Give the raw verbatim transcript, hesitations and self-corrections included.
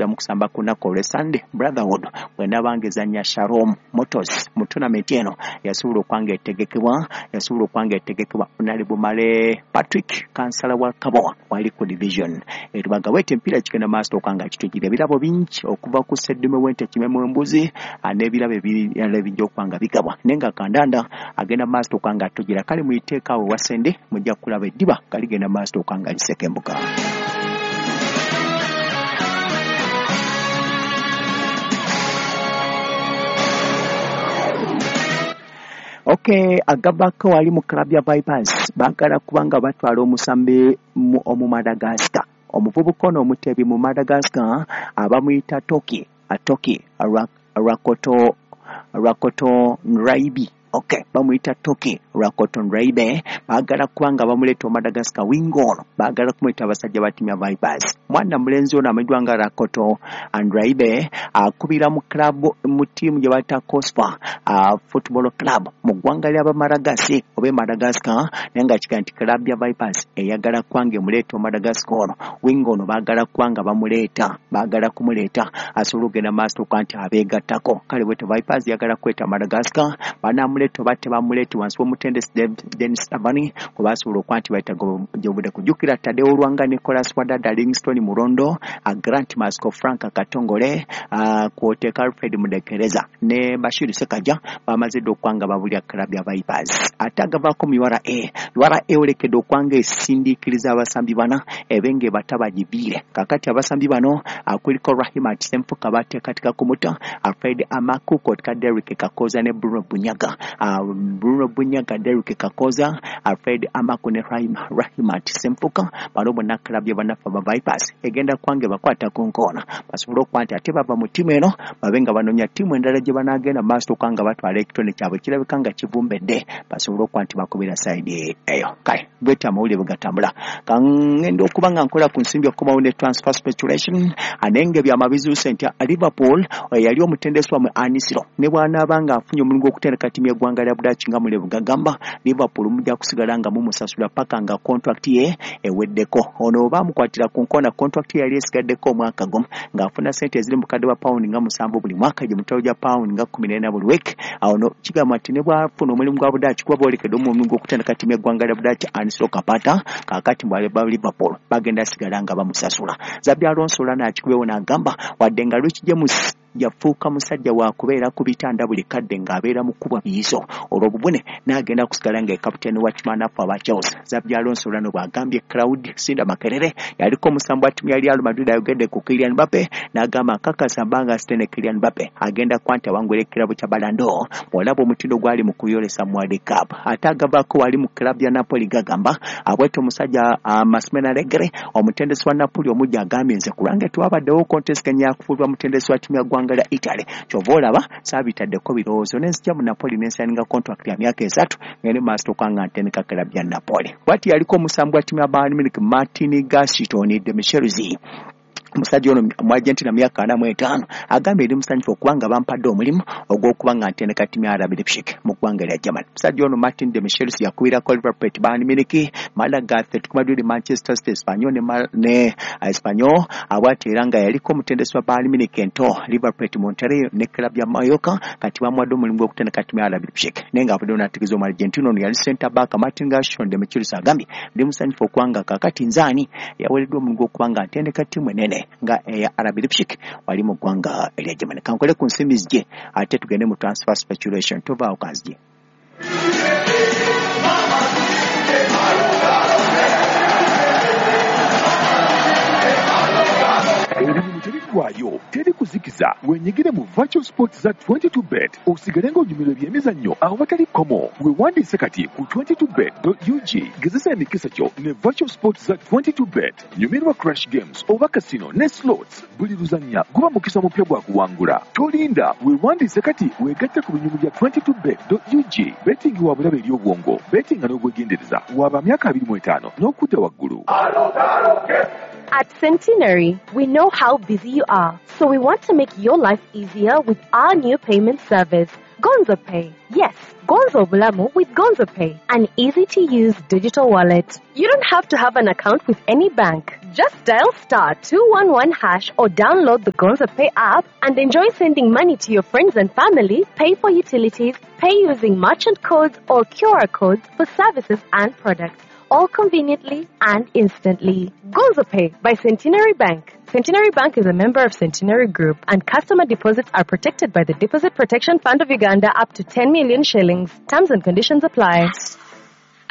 kuddamu kusamba ku lunaku olw'e Sunday Brotherhood bw'enaabanga ezannya Shalom Motors mu tournament eno yasobola okwanga etegekebwa yasobola okwanga etegekebwa Honorable Male Patrick kansala wa Kabowa wali ku division erubaga wete emipiira kigenda maaso okwanga kitujira ebirabo bingi okuva ku seddume w'ente kimemu embuzi n'ebirabo ebirala ebijja okwanga bigabwa naye nga kandanda agenda maaso okwanga atugira kale muyiteekaawo wasende mujja kulaba eddiba kaligenda maaso okwanga lisekembuka. Okay, agabako wali mu club ya Vipers baagala kubanga batwala omusambi omu Madagascar omuvubuka ono omutebi mu Madagascar abamuyita Toki Toki Rakoto Rakoto Nraibi. Okay, bamuyita Toki Rakoto Nraibe baagala kubanga bamuleeta Madagascar wingo ono baagala kumuyita abasajja ba ttiimu ya Vipers. Mwana mulenzi ono amanyiddwa nga Rakoto Nraibe akubira mu club mu ttiimu gye bayita Cospa uh, Football Club mu ggwanga ly'Abamaragasi oba e Madagascar naye nga kiga nti club ya Vipers eyagala kubanga emuleeta Madagascar ono wingo ono baagala kubanga bamuleeta baagala kumuleeta asobola okugenda maaso okuba nti abeegattako kale bwetyo Vipers eyagala kweta Madagascar banaamuleeta oba tebamuleeta wansi w'omutendesi Dennis Savani kwe basobola okuba nti bayita gy'obudde kujjukira Tadeo Lwanga Nicholas Wadada Livingstone Murondo Grant Masco Frank Katongole kw'oteeka Alfred Mudekereza ne Bashir Sekaja bamaze dda okwanga babulya club ya Vipers. Ate agavaako mu U R A U R A eolekedde okwanga esindiikiriza abasambi bana ebenge batabagibiire kakati abasambi bano kuliko Rahimat Ssemfuka bateekateeka kumuta Alfred Amaku kw'oteeka Derrick Kakoza ne Bruno Bunyaga uh, Bruno Bunyaga Derrick Kakoza Alfred Amaku ne Rahimat Ssemfuka bano bonna club ya bannaffe aba Vipers egenda kwange bakwata ku nkoona basobole okuba nti ate bava mu ttiimu eno babe nga banoonya ttiimu endala gye banaagenda mu maaso okubanga batwala ekitone kyabwe kirabika nga kivumbedde basobole okuba nti bakubira sayidi eyo. Kale bwetyo amawulire bwe gatambula kangenda okuba nga nkola ku nsimbi okukomawo ne transfer speculation naye nga ebyama bizuuse nti Liverpool yali omutendesi wammwe Anisiro ne bw'anaaba nga afunye omulimu gw'okutendeka ttiimu y'eggwanga lya Budaaki nga mule bwegagamba Liverpool mujja kusigala nga mumusasula paka nga contract ye eweddeko. Ono baamukwatira ku nkona contract ye yali esigaddeko omwaka gumu ng'afuna ssente eziri mu bukadde bwa pawundi nga musanvu buli mwaka gye mutwalo gya pawundi nga kkumi n'ena buli wiiki. Awo no kigamba nti ne bw'afuna omulimu gwa Budaaki kuba boolekedde omulimu gw'okutendeka ttiimu y'eggwanga lya Budaaki Anisiro Kapata kaakati ba Liverpool bagenda sigala nga bamusasula. Xabi Alonso olwo n'akikubewo n'agamba wadde nga Rich James yafuuka musajja wa kubeera ku bitanda buli kadde ng'abeera mu kkubwa biyiso olw'obubune n'agenda kusigala nga kapiteeni wa ttiimu aba Chelsea. Xabi Alonso olwo bw'agambye Claude Sinda Makerere yaliko omusambi wa ttiimu ya Real Madrid ayogedde ku Kylian Mbappe n'agamba nkakasa mbanga sitene Kylian Mbappe agenda kwanta awangula ekirabo kya Ballon d'Or bw'olaba omutindo gwali mu kuyolesa mu World Cup. Ate agavaako wali mu club ya Napoli gagamba abwetyo omusajja uh, Massimiliano Allegri omutendesi wa Napoli omujja agambye nze ku lwange tewabaddewo kontesteganya yakufuulwa mutendesi wa ttiimu ya ggwanga lya Italy kyova olaba saabitaddeko birowoozo nenzija mu Napoli nensayininga contract ya myaka esatu ngende maaso okwanga ntendeka club ya Napoli. Bw'ati yaliko omusambi wa ttiimu ya Bayern Munich Martin Gaston de Michels omusajja ono mu Argentina myaka ana mu etaano agambye eri musanyufu okubanga bampadde omulimu ogw'okuba nga ntendeka ttiimu ya R B Leipzig mu ggwanga lya Germany. Omusajja ono Martin de Michels yakubirako Liverpool, Bayern Munich, Malaga, Atletico Madrid, Manchester City, Espanyol ne, ne Espanyol abwati era nga yaliko omutendesi wa Bayern Munich ento Liverpool, Monterrey ne club ya Mallorca kati bamuwadde omulimu gw'okutendeka ttiimu ya R B Leipzig naye nga avuddeyo n'ategeeza omu Argentina ono yali center back Martin Gaston de Michels agambye ndi musanyufu okubanga kaakati nzaani yaweereddwa omulimu gw'okuba nga ntendeka ttiimu enene nga eya R B Leipzig wali mu ggwanga erya Germany. Kankole ku nsimbi zije ate tugende mu transfer speculation tovaawo kanzije. Ebintu tebiggwaayo teri kuzikiza wenyigire mu virtual sports za twenty-two bet osigale ng'onyumirwa ebyemizannyo awatali kkomo. Weewandiise kati ku twenty-two bet dot U G gezesa emikisa gyo ne virtual sports za twenty-two bet. Nyumirwa crash games oba casino ne slots buli luzannya guba mukisa mupya gwa kuwangula. Tolinda weewandiise kati weegatte ku binyumu bya twenty-two bet dot U G. Betting wa bulabe eri obwongo betting n'obwegendereza waba myaka abiri mu etaano n'okudda waggulu. At Centenary, we know how busy you are, so we want to make your life easier with our new payment service, Gonzo Pay. Yes, Gonzo Obulamu with Gonzo Pay, an easy-to-use digital wallet. You don't have to have an account with any bank. Just dial star two one one hash or download the Gonzo Pay app and enjoy sending money to your friends and family, pay for utilities, pay using merchant codes or Q R codes for services and products, all conveniently and instantly. Gonzo Pay by Centenary Bank. Centenary Bank is a member of Centenary Group, and customer deposits are protected by the Deposit Protection Fund of Uganda up to ten million shillings. Terms and conditions apply.